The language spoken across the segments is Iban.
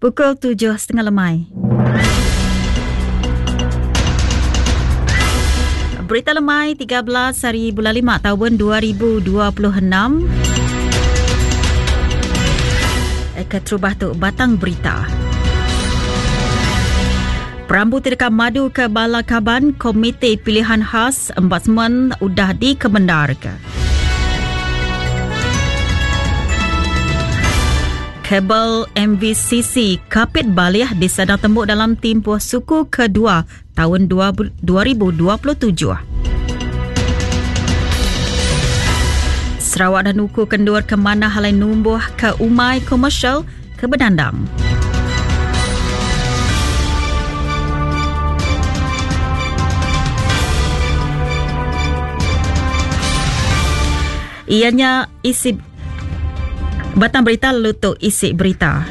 Pukul 7.30 lemai. Berita lemai 13 hari bulan 5 tahun 2026. Keterubah tu batang berita. Perambu ti deka madu ke bala kaban Komiti Pilihan Khas Ombudsman udah dikemendarka. Kabel MVCC Kapit Balih disadang tembu dalam timpuh suku kedua taun 2027. Sarawak dah nuku kendur ke manah alai numbuh ke umai komersial ke bedandang. Ianya isi batang berita lalu tu isi berita.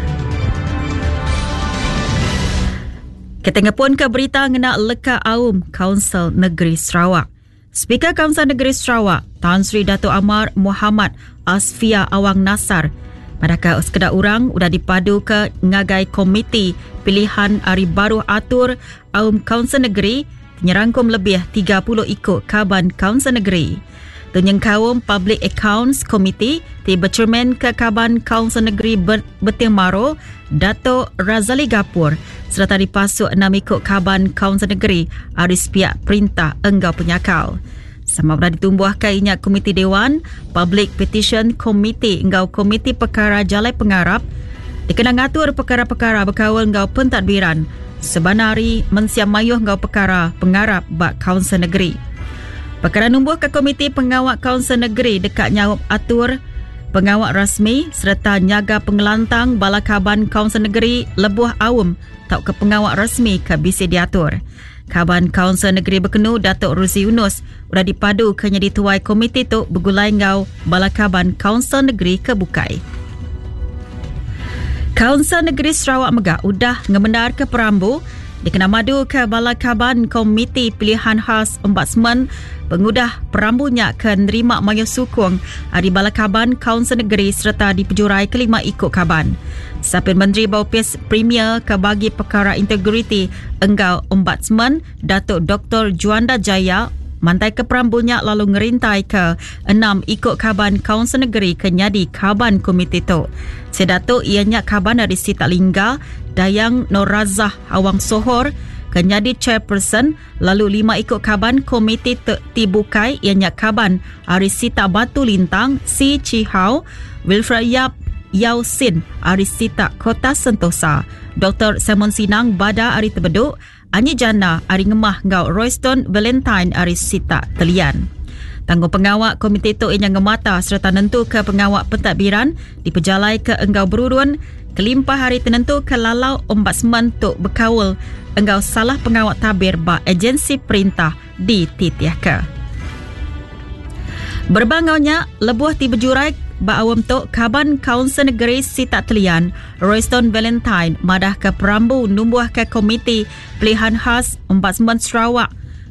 Kita ngepun ke berita ngena leka aum Kaunsil Negeri Sarawak. Speaker Kaunsil Negeri Sarawak, Tan Sri Datuk Amar Mohamad Asfia Awang Nassar, madahka sekeda orang udah dipaduka ngagai Komiti Pilihan Ari Baruh Atur Aum Kaunsil Negeri ti nyerangkum lebih 30 iku kaban Kaunsil Negeri. Tu nyengkaum Public Accounts Committee ti bechermenka kaban Kaunsil Negeri Beting Maro, Dato Razali Gapur sereta dipasuk enam iku kaban Kaunsil Negeri ari sepiak perintah enggau penyakal. Sama bela ditumbuhka iya nya Komiti Dewan, Public Petition Committee enggau Komiti Pekara Jalai Pengarap dikena ngatur pekara-pekara bekaul enggau pentadbiran sebana ari mensia mayuh enggau pekara pengarap ba Kaunsil Negeri. Pekara numbuhka Komiti Pengawa Kaunsil Negeri deka nyaup atur pengawa rasmi sereta nyaga pengelantang bala kaban Kaunsil Negeri lebuh aum tauka pengawa rasmi ke bisi diatur. Kaban Kaunsil Negeri Bekenu Datuk Ruzi Yunus udah dipadu ke nyadi tuai komiti tu begulai enggau bala kaban Kaunsil Negeri ke bukai. Kaunsil Negeri Sarawak mega udah ngemendarka perambu dikena maduka bala kaban Komiti Pilihan Khas Ombudsman pengudah perambu nya ke nerima mayuh sukung ari bala kaban Kaunsil Negeri sereta dipejurai kelima iku kaban. Sapit Menteri ba Opis Premier ke bagi Pekara Integriti enggau Ombudsman Datuk Doktor Juanda Jaya mantaika perambu nya lalu ngerintaika enam iku kaban Kaunsil Negeri ke nyadi kaban komiti tu. Sida tu iya nya kaban ari Sitak Lingga, Dayang Norazah Awang Sohor ke nyadi chairperson lalu lima iku kaban komiti ti bukai iya nya kaban ari Sitak Batu Lintang Si Chi Hau, Wilfred Yap Yau Sin ari Sitak Kota Sentosa, Doktor Simon Sinang Bada ari Tebedu, Anyi Jana ari Ngemah enggau Royston Valentine ari Sitak Telian. Tanggungpengawa komiti tu iya nya ngemata sereta nentuka pengawa pentadbiran dipejalaika enggau berurun kelimpah ari tenentuka lalau ombudsman tu bekaul enggau salah pengawa tabir ba agensi perintah dititihka. Berebak enggau nya, lebuh ti bejurai ba aum tu, Kaban Kaunsil Negeri Sitak Telian, Royston Valentine madahka perambu numbuhka Komiti Pelihan Khas Ombudsman Sarawak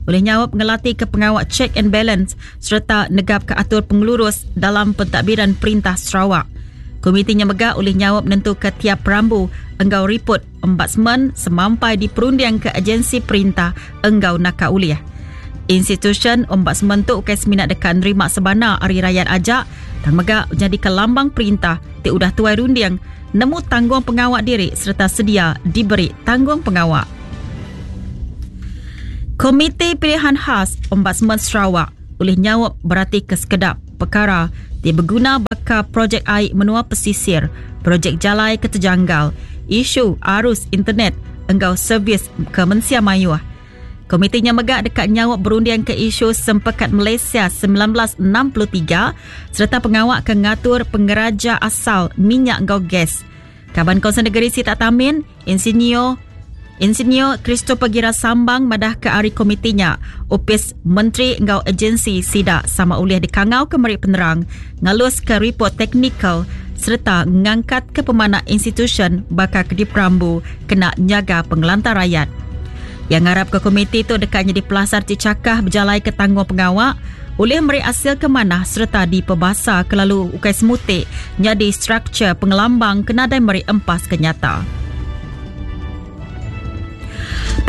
ulih nyaup ngelatika pengawa check and balance sereta negapka atur pengelurus dalam pentadbiran perintah Sarawak. Komiti nya mega ulih nyaup nentuka tiap perambu enggau riput Ombudsman semampai diperundingka agensi perintah enggau naka ulih. Institusyen ombudsman tu ukai semina deka nerima sebana ari rayat aja tang mega nyadika lambang perintah ti udah tuai runding nemu tanggung pengawa diri sereta sedia diberi tanggung pengawa. Komiti Pilihan Khas Ombudsman Sarawak ulih nyaup beratika sekeda pekara ti beguna baka projek ai menua pesisir, projek jalai ke tejanggal, isu arus internet enggau servis ke mensia mayuh. Komiti nya mega deka nyaup berundingka isu Sempekat Malaysia 1963 sereta pengawa ke ngatur pengeraja asal minyak enggau gas. Kaban Kaunsil Negeri Sitak Tamin, Insinyur Insinyur Christopher Gira Sambang madahka ari komiti nya, opis menteri enggau agensi sida sama ulih dikangauka meri penerang, ngaluska ripot teknikal sereta ngangkatka pemanah institusyen baka ke diperambu kena nyaga pengelantang rayat. Iya ngarapka komiti tu deka nyadi pelasar ti chakah bejalaika tanggungpengawa ulih meri asil ke manah sereta dipebasa ke lalu ukai semuti nyadi struktur pengelambang ke nadai meri empas ke nyata.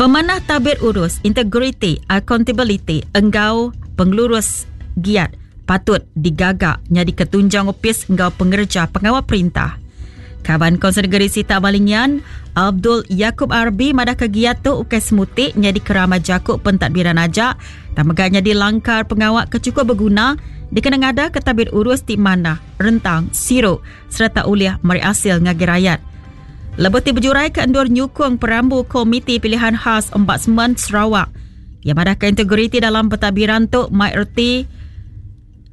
Pemanah tabir urus, integriti, akuntabiliti enggau pengelurus giat patut digaga nyadika tunjang opis enggau pengereja pengawa perintah. Kaban Kaunsil Negeri Sitak Balingian, Abdul Yakub Arbi madahka giat tu ukai semuti nyadi keramai jaku pentadbiran aja tang mega nyadi langkar pengawa ke chukup beguna dikena ngadaka tabir urus ti manah, rentang, siru sereta ulih meri asil ngagai rayat. Lebuh ti bejuraika endur nyukung perambu Komiti Pilihan Khas Ombudsman Sarawak, iya madahka integriti dalam pentadbiran tu mai reti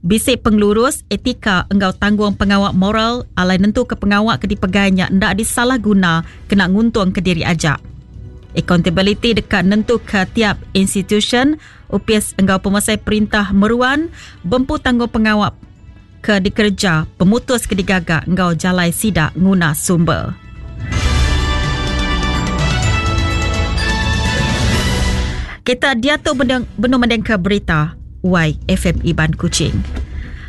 bisi pengelurus, etika enggau tanggung pengawa moral alai nentuka pengawa ke dipegai nya enda disalah guna kena nguntungka diri aja. Accountability deka nentuka tiap institusyen, opis enggau pemesai perintah meruan bempu tanggung pengawa ke dikereja, pemutus ke digaga enggau jalai sida nguna sumber. Kita diatu benung mendingka berita YFM Iban Kuching.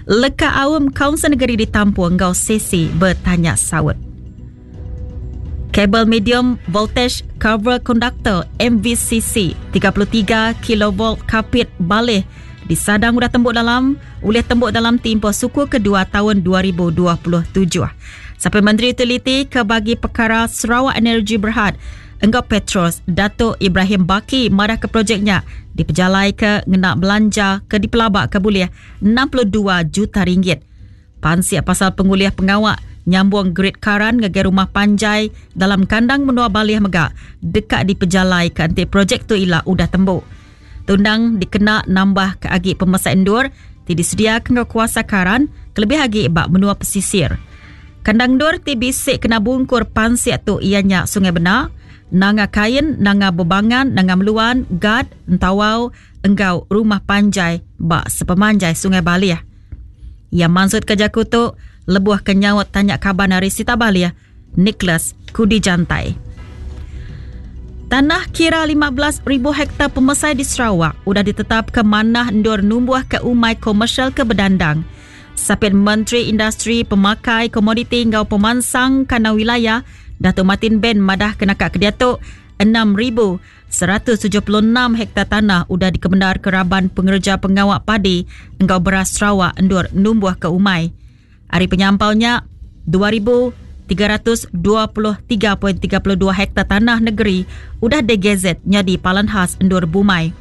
Leka aum Kaunsil Negeri ditampung enggau sesi betanya saut. Kabel medium voltage cover conductor MVCC 33 kilovolt Kapit Baleh disadang udah tembu dalam ulih tembu dalam timpuh suku kedua taun 2027. Sapit Menteri Utiliti ke bagi pekara Sarawak Energy Berhad enggau Petros Datuk Ibrahim Baki madahka projek nya dipejalaika ngena belanja ke dipelabaka bulih 62 juta ringgit. Pansik pasal pengulih pengawa nyambung grid karan ngagai rumah panjai dalam kandang menua Balih mega deka dipejalaika enti projek tu ila udah tembu. Tundang dikena nambahka agi pemesai endur ti disediaka enggau kuasa karan kelebih agi ba menua pesisir. Kandang endur ti bisi kena bungkur pansik tu iya nya Sungai Bena, Nanga Kain, Nanga Bebangan, Nanga Meluan, Gad, Entawau enggau rumah panjai ba sepemanjai Sungai Balih. Iya mansutka jaku tu lebuh ke nyaut tanya kaban ari Sita Balih, Nicholas Kudi Jantai. Tanah kira 15,000 hektar pemesai di Sarawak udah ditetapka manah endur numbuhka umai komersial ke bedandang. Sapit Menteri Industri Pemakai, Komoditi enggau Pemansang Kandang Wilayah, Datuk Martin Ben madah ke naka ke diatu 6,000 176 hektar tanah udah dikemendarka raban pengereja pengawa padi enggau beras Sarawak endur numbuhka umai. Ari penyampau nya, 2,323.32 hektar tanah negeri udah digazet nyadi palan khas endur bumai.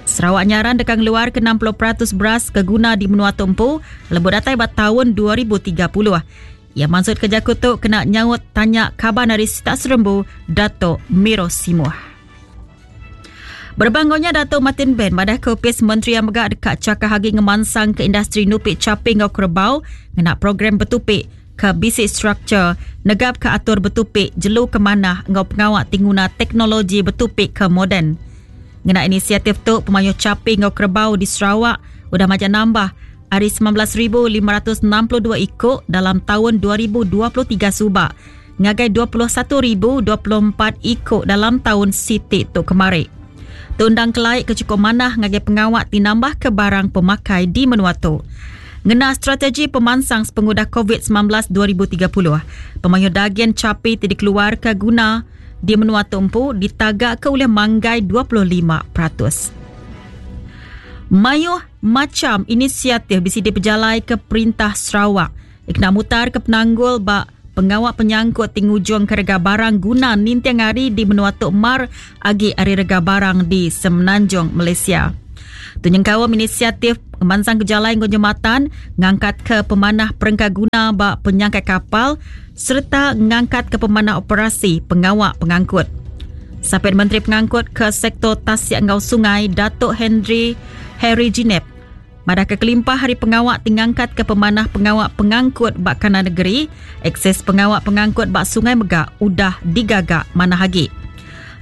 Sarawak nyaran deka ngeluarka 60% beras ke guna di menua tu empu lebuh datai ba taun 2030. Iya mansutka jaku tu kena nyaut tanya kaban ari sitak Serembu, Datuk Miro Simuh. Berebak enggau nya, Datuk Martin Ben madahka Opis Menteri iya mega deka chakah agi ngemansangka industri nupi chapi enggau kerebau ngena program betupi ke bisi struktur negapka atur betupi jelu ke manah enggau pengawa ti nguna teknologi betupi ke moden. Ngena inisiatif tu, pemayuh chapi enggau kerebau di Sarawak udah majak nambah ari 19,562 iku dalam taun 2023 suba ngagai 21,024 iku dalam taun siti tu kemari. Tu endang kelai ke chukup manah ngagai pengawa ti nambahka barang pemakai di menua tu. Ngena strategi pemansang sepengudah Covid 19 2030, pemayuh dagin chapi ti dikeluarka guna di menua tu empu ditagaka ulih manggai 25%. Mayuh Macham inisiatif bisi dipejalaika Perintah Sarawak dikena mutarka penanggul ba pengawa penyangkut ti ngujungka rega barang guna ninting hari di menua tu mar agi ari rega barang di Semenanjung Malaysia. Tu nyengkaum inisiatif ngemansangka jalai enggau jematan, ngangkatka pemanah perengka guna ba penyangkai kapal sereta ngangkatka pemanah operasi pengawa pengangkut. Sapit Menteri Pengangkut ke Sektor Tasik enggau Sungai Datuk Henry Harry Jinep madahka kelimpah ari pengawa ti ngangkatka pemanah pengawa pengangkut ba kanan negeri, akses pengawa pengangkut ba sungai mega udah digaga manah agi.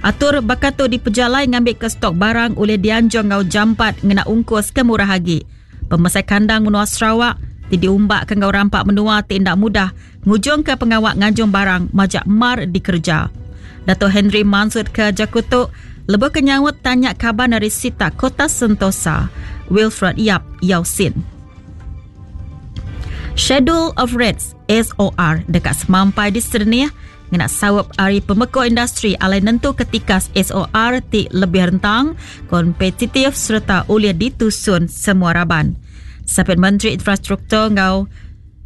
Atur baka tu dipejalai ngambika stok barang ulih dianjung enggau jampat ngena ungkus ke murah agi. Pemesai kandang menua Sarawak ti diumbaka enggau rampa menua ti enda mudah ngujungka pengawa nganjung barang majak mar dikereja. Dato Henry mansutka jaku tu lebuh ke nyaut tanya kaban ari sitak Kota Sentosa, Wilfred Yap Yau Sin. Schedule of Rates. SOR deka semampai diserenih ngena saup ari pemeko industri alai nentuka tikas SOR ti lebih rentang, kompetitif sereta ulih ditusun semua raban. Sapit Menteri Infrastruktur enggau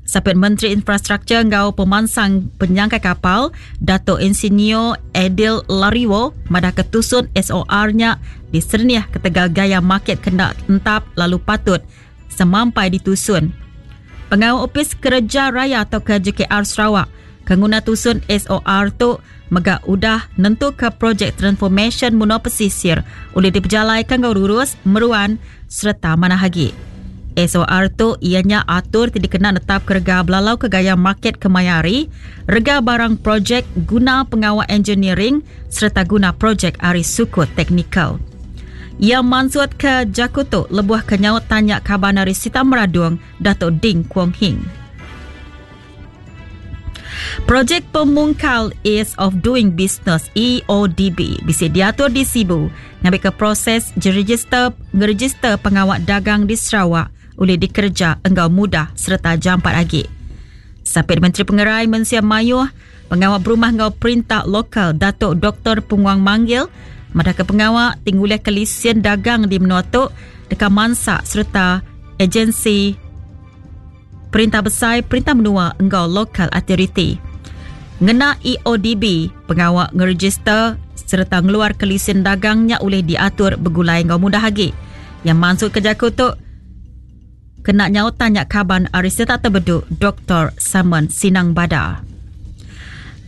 Sapit Menteri Infrastruktur enggau Pemansang Penyangkai Kapal, Datuk Insinyur Aidil Lariwo madahka tusun SOR nya diserenih ketegal gaya market ke enda entap lalu patut semampai ditusun. Pengawa Opis Kereja Raya tauka JKR Sarawak ke nguna tusun SOR tu mega udah nentuka projek transformasyen menua pesisir ulih dipejalaika enggau rurus, meruan sereta manah agi. SOR tu iya nya atur ti dikena netapka rega belalauka gaya market kemaya hari, rega barang projek, guna pengawa engineering sereta guna projek ari sukut teknikal. Iya mansutka jaku tu lebuh ke nyaut tanya kaban ari Sita Meradong, Datuk Ding Kuong Hing. Projek Pemungkal Ease of Doing Business EODB bisi diatur di Sibu ngambika proses jerejister ngerejister pengawa dagang di Sarawak ulih dikereja enggau mudah sereta jampat agi. Sapit Menteri Pengerai Mensia Mayuh, Pengawa Berumah enggau Perintah Lokal Datuk Doktor Penguang Manggil madahka pengawa ti ngulihka lisin dagang di menua tu deka mansa sereta agensi Perintah Besai, Perintah Menua enggau Local Authority. Ngena EODB, pengawa ngerejister sereta ngeluarka lisin dagang nya ulih diatur begulai enggau mudah agi. Iya mansutka jaku tu kena nyaut tanya kaban ari Setak Tebedu Doktor Simon Sinang Bada.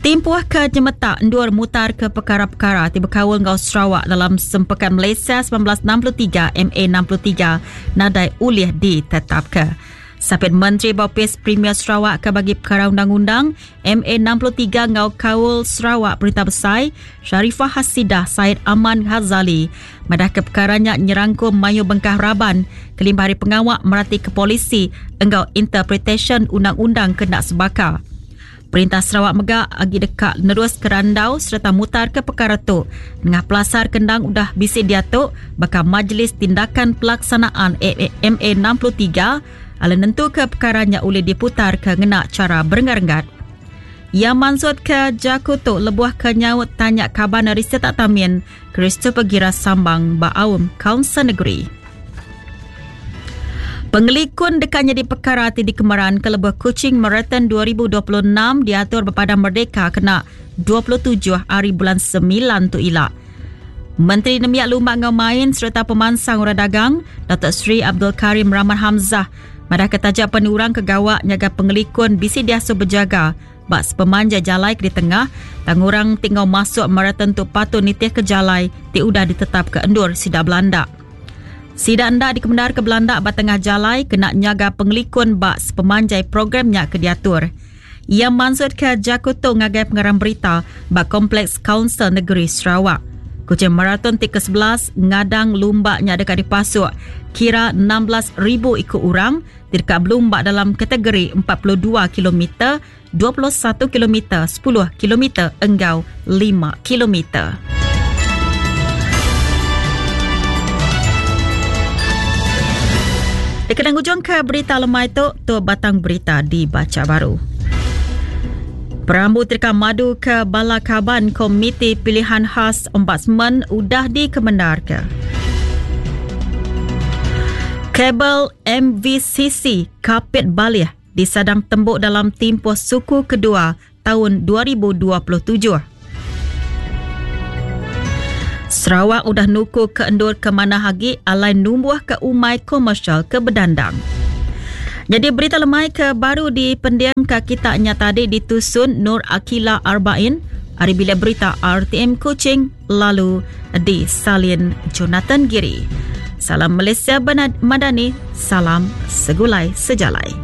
Timpuh ke nyemetak endur mutarka pekara-pekara ti bekaul enggau Sarawak dalam Sempekat Malaysia 1963 MA 63 nadai ulih ditetapka. Sapit Menteri ba Opis Premier Sarawak ke bagi pekara undang-undang MA 63 enggau kaul Sarawak Perintah Besai Sharifah Hasidah Said Aman Ghazali madahka pekara nya nyerangkum mayuh bengkah raban kelimpah ari pengawa meratika polisi enggau interpretasyen undang-undang ke enda sebaka. Perintah Sarawak mega agi deka neruska randau sereta mutarka pekara tu nengah pelasar ke endang udah bisi diatu baka Majlis Tindakan Pelaksanaan MA 63 alai nentuka pekara nya ulih diputarka ngena chara berenggat-renggat. Iya mansutka jaku tu lebuh ke nyaut tanya kaban ari Setak Tamin, Christopher Gira Sambang ba aum Kaunsil Negeri. Pengelikun deka nyadi pekara ti dikemeranka lebuh Kuching Marathon 2026 diatur ba Padang Merdeka kena 27 hari bulan semilan tu ila. Menteri Nembiak Lumba enggau Main sereta Pemansang Orang Dagang, Datuk Seri Abdul Karim Rahman Hamzah madahka taja pen orang ke gawa nyaga pengelikun bisi diasuh bejaga ba sepemanjai jalai ke ditengah tang orang ti enggau masuk marathon tu patut nitihka jalai ti udah ditetapka endur sida belanda. Sida enda dikemendarka belanda ba tengah jalai kena nyaga pengelikun ba sepemanjai program nya ke diatur. Iya mansutka jaku tu ngagai pengarang berita ba Kompleks Kaunsil Negeri Sarawak. Kuching Marathon ti ke-11 ngadang lumba nya deka dipasuk kira 16,000 iku orang ti deka belumba dalam kategori 42 kilometer, 21 kilometer, 10 kilometer enggau 5 kilometer. Dikena ngujungka berita lemai tu, tu batang berita dibacha baru. Perambu ti deka madu ke bala kaban Komiti Pilihan Khas Ombudsman udah dikemendarka. Kabel MVCC Kapit Balih disadang tembu dalam timpuh suku kedua taun 2027. Sarawak udah nuku ke endur ke manah agi alai numbuhka umai komersial ke bedandang. Nyadi berita lemai ke baru dipendingka kita nya tadi ditusun Nur Akila Arbain ari bilik berita RTM Kuching lalu disalin Jonathan Giri. Salam Malaysia Madani, salam segulai sejalai.